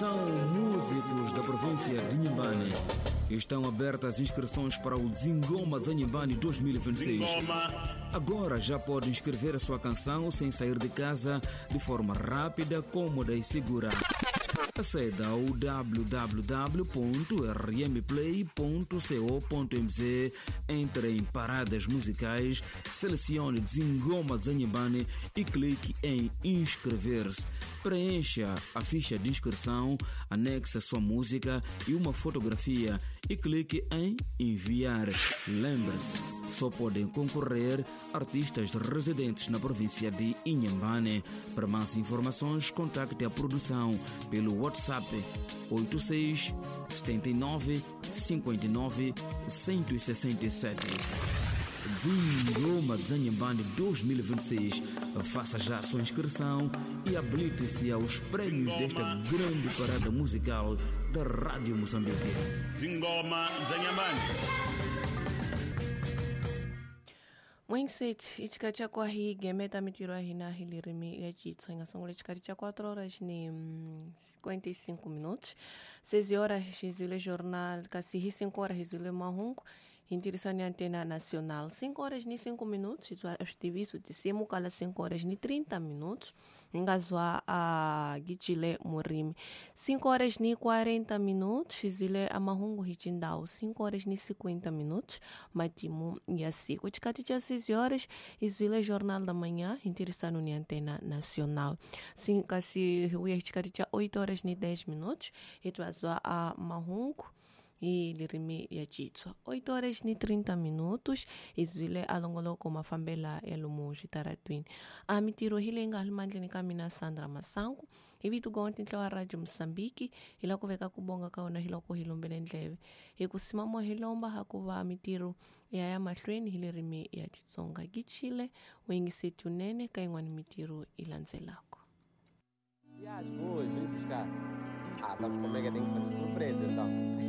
Atenção, músicos da província de Inhambane. Estão abertas as inscrições para o Zingoma de Inhambane 2026. Agora já pode inscrever a sua canção sem sair de casa, de forma rápida, cômoda e segura. Aceda ao www.rmplay.co.mz, entre em paradas musicais, selecione Zingoma Zanhambane e clique em inscrever-se. Preencha a ficha de inscrição, anexe a sua música e uma fotografia e clique em enviar. Lembre-se, só podem concorrer artistas residentes na província de Inhambane. Para mais informações, contacte a produção pelo WhatsApp 86 79 59 167. Zingoma Zanhambane 2026. Faça já a sua inscrição e habilite-se aos prêmios desta grande parada musical da Rádio Moçambique. Zingoma Zanhambane. Mwinset ichikati cha kwa hii gemeta mitiro hina hilirimi ya chitswa ingasungula chikati cha 4 horas ni 55 minutos, 6 horas xizile jornal kasi hi 5 horas xizile mahungu hintirisani antena nacional 5 horas ni 5 minutos itwa tiviso tisimu kala 5 horas ni 30 minutos ingazwa a gichile murimi 5 horas ni 40 minutos xizile amahungu hichindau 5 horas ni 50 minutos matimu ya siku chikati cha 6 horas izile jornal da manhã interessando ni antena nacional sim kasi uya chikati cha 8 horas ni 10 minutos itwazwa a mahungu hi lirimi ya chitswa 8 horas ni 30 minutos izwile alongoloko mafambela ya lomu switaratwini a mitiro hi leyi nga hali mandleni ka mina Sandra Masangu hi vito gonti ntla wa Radio Mosambiki hi la ku veka ku bonga ka wona hi loko hi lombele ndleve hi ku simamo hi lomba ha ku va mitiro ya ya mahlweni hi lirimi ya Xitsonga gichile u yingiseti unene ka yin'wana mitiro yi landzelaka. E as boas, vem buscar. Ah, sabes como é que eu tenho que fazer surpresa então.